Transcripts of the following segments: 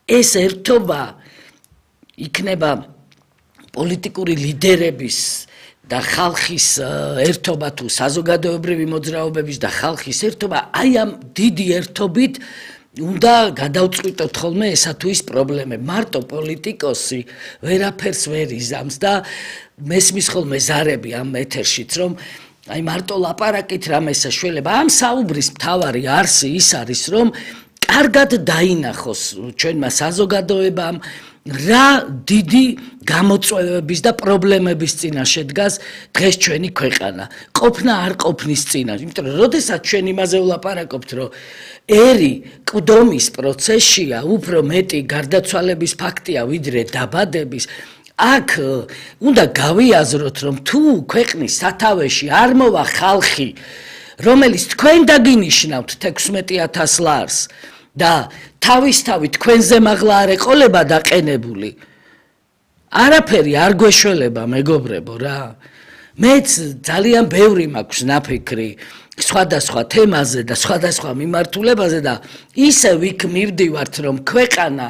ეს ერთობა იქნება პოლიტიკური ლიდერების და ხალხის ერთობა თუ საზოგადოებრივი მოძრაობების და ხალხის ერთობა აი ამ დიდი ერთობით უნდა გადავწყვიტოთ ხოლმე ესა თუ ის პრობლემები. მარტო პოლიტიკოსი ვერაფერს ვერ იზამს და მესმის ხოლმე ზარები ამ ეთერშიც რომ აი მარტო ლაპარაკით რამეს საშველება ამ საუბრის მთავარი არსი ის არის რომ კარგად დაინახოს ჩვენმა საზოგადოებამ რა დიდი გამოწვევების და პრობლემების წინაშე დგას დღეს ჩვენი ქვეყანა. ყოფნა არ ყოფნის წინაშე. იმიტომ რომ როდესაც ჩვენ იმაზე ვლაპარაკობთ, რომ ერი ყდომის პროცესშია, უფრო მეტი გარდაცვალების ფაქტია, ვიდრე დაბადების, აქ უნდა გავიაზროთ, რომ თუ ქვეყნის სათავეში არ მოვა ხალხი, რომელიც თქვენ დაგინიშნავთ 16,000 ლარს და თავისთავი თქვენზე მაღლა არ ეყოლება დაყენებული. არაფერი არ გვეშველება, მეგობრებო რა. მეც ძალიან ბევრი მაქვს ნაფიქრი სხვადასხვა თემაზე და სხვადასხვა მიმართულებაზე და ისე ვიქ მივდივართ, რომ ქვეყანა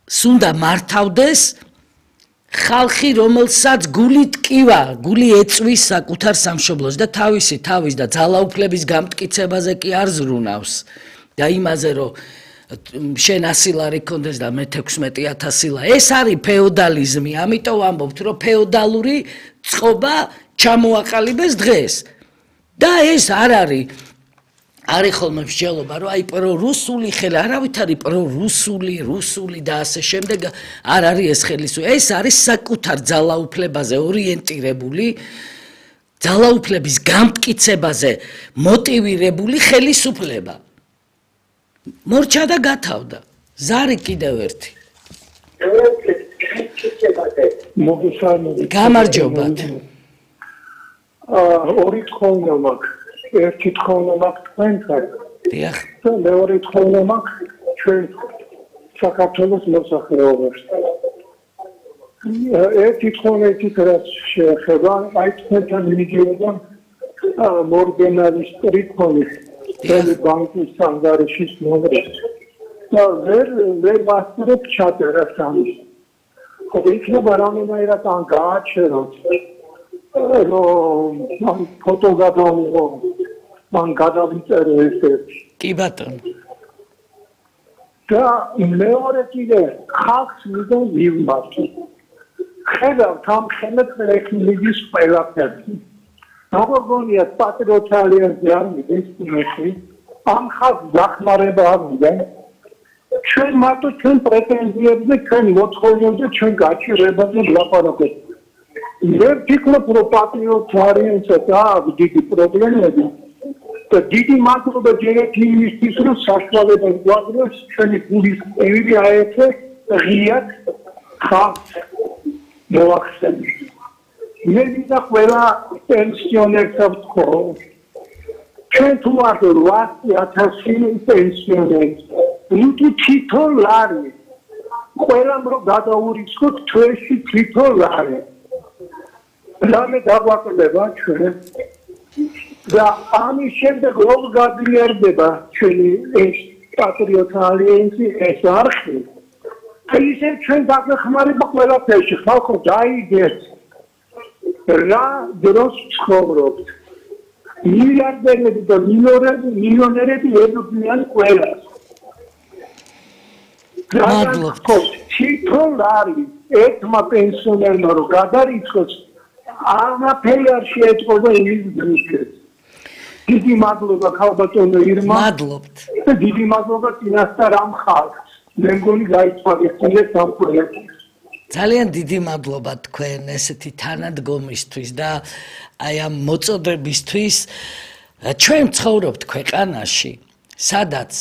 უნდა მართავდეს ხალხი, რომელსაც გული ტკივა, გული ეწვის საკუთარ სამშობლოს და თავისი თავის და ძალაუფლების გამტკიცებაზე კი არ ზრუნავს. და იმაზე რომ შენ 100 ლარი კონდეს და მე 16,000 ლა. ეს არის ფეოდალიზმი, ამიტომ ვამბობთ, რომ ფეოდალური წყობა ჩამოაყალიბეს დღეს. და ეს არ არის ხოლმე მსჯელობა, რომ აი პრორუსული ხელი, არავით არის რუსული და ასე შემდეგ არ არის ეს ხელისუფლება. ეს არის საკუთარ ძალაუფლებაზე ორიენტირებული, ძალაუფლების გამტკიცებაზე მოტივირებული ხელისუფლება. მორჩა და გათავდა. ზარი კიდევ ერთი. გამარჯობათ. ორი თხოვნა მაქვს. ერთი თხოვნა მაქვს თქვენთან. დიახ. მეორე თხოვნა მაქვს ჩვენ საქართველოს მოსახლეობაში. ერთი თხოვნა ის რაც შეეხება აი თქვენთან მიდიოდა მორგენალის ტრიქონის ბანკის სანდარიშის მომრეს. და ვერ ვასწრებ ჩაწერას ამის. ხო იქნება რამენაირად ან გააჩეროთ რომ ფოტო გადავიღო მან გადავიწერე ესეთი. კი ბატონო. და მეორე კიდე ხალხს მინდა მივმართო. ხედავთ ამ ხელმეწყლის ყველაფერს. როგორ გონიათ პატრიოტთა ალიანსი არ მიდის იმაში, ამ ხალხს დახმარება არ უნდა. ჩვენ მარტო ჩვენ პრეტენზიებზე, ჩვენ მოთხოვნებზე, ჩვენ გაჩერებაზე ვლაპარაკობთ. ვერ ვფიქრობ, რომ პატრიოტთა ალიანსს აქვს დიდი პრობლემები. და დიდი მადლობა ჯერეთი იმისთვის, რომ საშუალებას გვაძლევს ჩვენი გულის ყევი აერთო ღიად ხალხს მოახსენოთ. მე მინდა ყველა პენსიონერს ვთქო, ჩვენ თუ ვართ 800,000 პენსიონერი, ნუ თითო ლარი, ყველამ რომ გადაურიცხოთ თვეში თითო ლარი. რამე დაგვაკლდება ჩვენ და ამის შემდეგ როგორ გაძლიერდება ჩვენი ეს პატრიოტთა ალიანსი, ეს არხი. ისე ჩვენ დაგვეხმარება ყველაფერში, ხალხო დაიგეთ რა დროს ცხოვრობთ. მილიარდერები და მილიონერები ებრძვიან ყველას. მადლობთ. თითო ლარი ერთმა პენსიონერმა რომ გადარიცხოს, არაფერი არ შეეწყობა იმის დროშებს. დიდი მადლობა ქალბატონო ირმა. მადლობთ. დიდი მადლობა წინასწარ ამ ხალხს. მე მგონი გაიცვალეთ ამ პროექტს. ძალიან დიდი მადლობა თქვენ ესეთი თანადგომისთვის და აი ამ მოწოდებისთვის. ჩვენ ცხოვრობთ ქვეყანაში, სადაც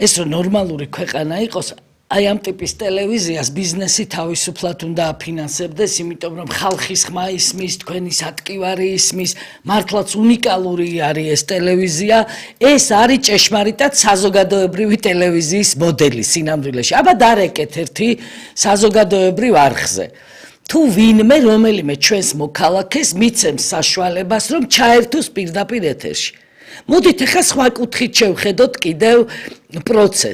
ეს რომ ნორმალური ქვეყანა იყოს, აი ამ ტიპის ტელევიზიას ბიზნესი თავისუფლად უნდა აფინანსებდეს, იმიტომ რომ ხალხის ხმა ისმის, თქვენი სატკივარი ისმის, მართლაც უნიკალური არის ეს ტელევიზია, ეს არის ჭეშმარიტად საზოგადოებრივი ტელევიზიის მოდელი სინამდვილეში. აბა დარეკეთ ერთი საზოგადოებრივ არხზე. თუ ვინმე რომელიმე ჩვენს მოქალაქეს მიცემს საშუალებას, რომ ჩაერთოს პირდაპირ ეთერში. მოდით ახლა სხვა კუთხით შევხედოთ კიდევ პროცესს.